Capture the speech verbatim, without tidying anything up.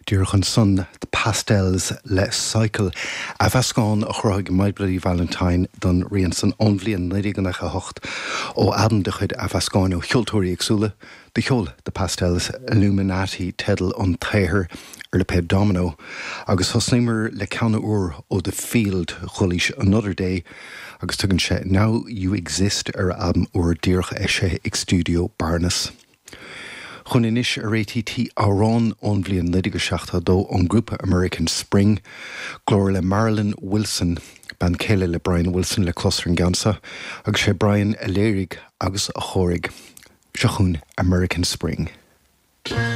Díreach ansan The Pastels le Cycle athmheascán a chruthaigh My Bloody Valentine don rian san ón bhliain naoi déag nócha a hocht ó albam de chuid athmheascáin ó cheoltóirí éagsúla de cheol The Pastels Illuminati teideal an tsaothair ar lipéad Domino agus thosnaíomar le ceann úr ó The Field Chulaois Another Day agus tugann sé Now You Exist ar albam úr díreach eisithe ag Studio Barnes. Chun anois ar ATT amhrán ón bhliain naoi déag seachtó dó ón grúpa American Spring, glór le Marilyn Wilson, bean chéile le Brian Wilson le clos ar an gceann seo, agus sé Brian a léirigh agus a chóirigh. Seo chugainn American Spring.